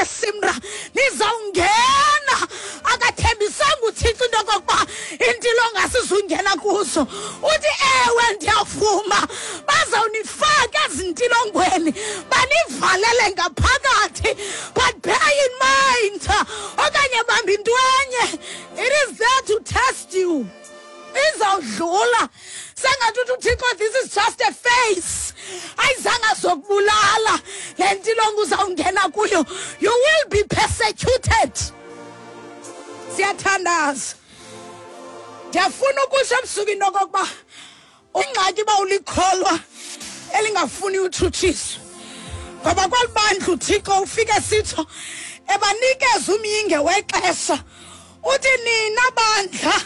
laseSimra, nizawungena. Akathembisanga uThixo into okokuba intilongo asizungena kuzo. Uthi ewe ndiyavuma, bazawunifaka ezintilongweni, banivalele ngaphakathi, but bear in mind, okanye bamba into enye, it is there to test you. Izawudlula. Sengathi uthi uThixo, this is just a phase. Ayizange zokubulala le ntilongo uzawungena kuyo. You will be persecuted. Siyathandaza. Ndiyafuna ukusho ebusuku into okokuba ingxaki uba ulikholwa elingafuni utshutshiswa, ngoba kweli bandla uThixo ufike sitsho ebanikeza umyinge wexesha. Uthi nina bandla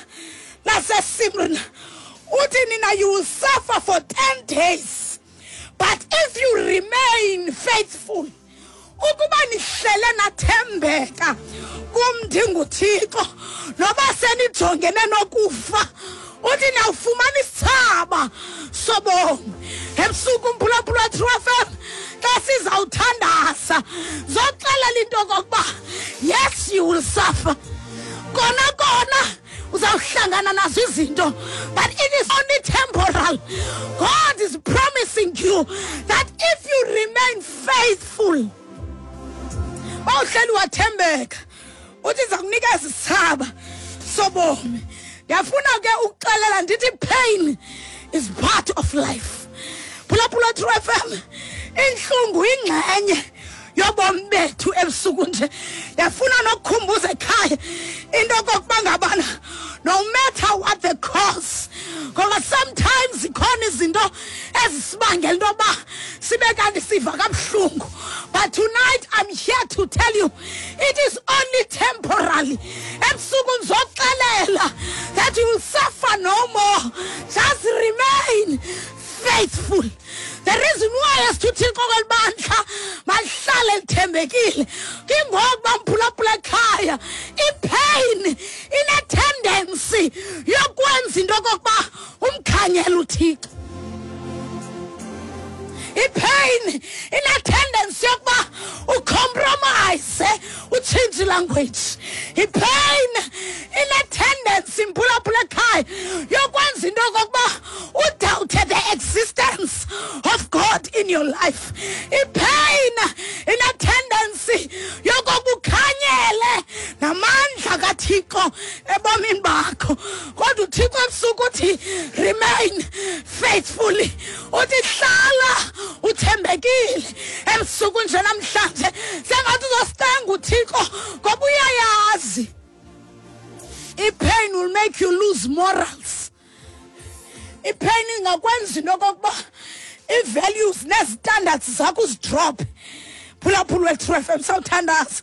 laseSimrna, uthi nina you will suffer for 10 days, but if you remain faithful, ukuba nihlele nathembeka kum ndinguThixo, noba senijongene nokufa, uthi nawufumana isithaba sobomi. Ebusuku mphulaphula True FM, xa sizawuthandaza zoxelela into okokuba yes, you will suffer, kona kona uzawuhlangana nazo izinto, but it is only temporal. God is promising you that if you remain faithful, bawuhleli wathembeka, uthi iza kunikeza isithaba sobomi. Ndiyafuna ke ukuxelela ndithi pain is part of life. Phulaphula True FM, intlungu ingxenye yobomi bethu. Ebusuku nje ndiyafuna nokukhumbuza ekhaya into okokuba ngabana no matter what the cause, ngoba sometimes zikhona izinto ezisibangela into yoba sibe kanti siva kabuhlungu, but tonight I'm here to tell you it is only temporary. Ebusuku ndizoxelela that you will suffer no more. Just remain faithful. The reason why as uThixo kweli bandla malihlale lithembekile, kingokuba mphulaphula ekhaya, ipain ine-tendency yokwenza into okokuba umkhanyele uThixo. Ipain ine-tendency yokuba ucompromise, utshintshe language. Ipain ine-tendency, mphulaphula ekhaya, yokwenza into okokuba udoubte the existence of God in your life. Ipain ine-tendency yokokuba ukhanyele namandla kaThixo ebomini bakho. Kodwa uThixo ebusuku uthi remain faithfully, uthi hlala uthembekile. Ebusuku nje namhlanje sengathi uzositenga uThixo, ngoba uyayazi ipain will make you lose morals. Ipain ingakwenza into okokuba ii-values nezistandards zakho uzidrop. Phulaphula we-True FM, sawuthandaza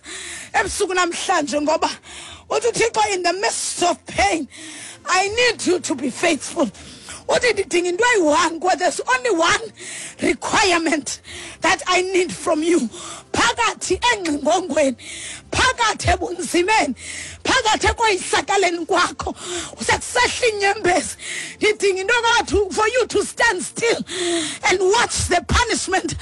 ebusuku namhlanje, ngoba uthi uThixo, in the midst of pain I need you to be faithful. Uthi ndidinga into eyi-one, ngoba there's only one requirement that I need from you. Phakathi engxingongweni, phakathi ebunzimeni, phakathi ekoyisakaleni kwakho, usekusehla inyembezi, ndidinga into yokuba for you to stand still and watch the punishment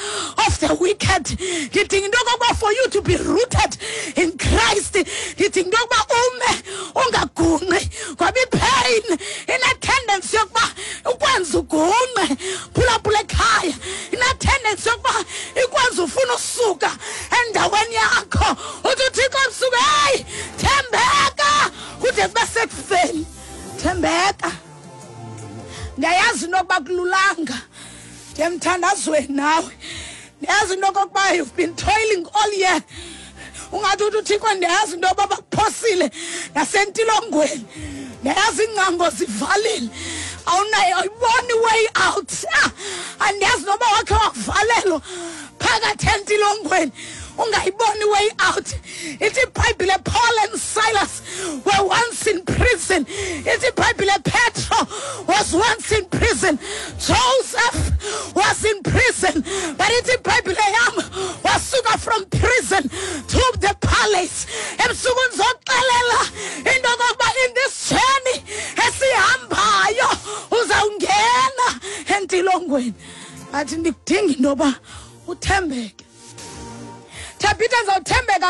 of the wicked. Ndidinga into yokokuba for you to be rooted in Christ. Ndidinga into yokuba ume ungagunqi, ngoba ipain ine-tendency yokuba ukwenza ugunqe. Phulaphula ekhaya, ine-tendency yokuba ikwenza ufuna usuka endaweni yakho. Uthi uThixo ebusuku, heyi, thembeka kude kube sekufeni, thembeka. Ndiyayazi into yokuba kululanga, ndiyemthandazweni nawe. Ndiyazi into okokuba you've been toiling all year. Ungathi uthi uThixo, ndiyazi into yoba bakuphosile nasentilongweni, ndiyazi iingcango zivalile, awunayo, awuyiboni way out. Andiyazi noba wakhe wavalelwa phakathi entilongweni ungayiboni way out. Ithi iBhayibhile Paul and Silas were once in prison. Ithi iBhayibhile Petro was once in prison. Joseph was in prison. But ithi iBhayibhile yam wasuka from prison to the palace. Ebusuku ndizoxelela into yokokuba in this journey esihambayo uzawungena entilongweni, but ndikudinga into yoba uthembeke. Thabitha, ndizawuthembeka.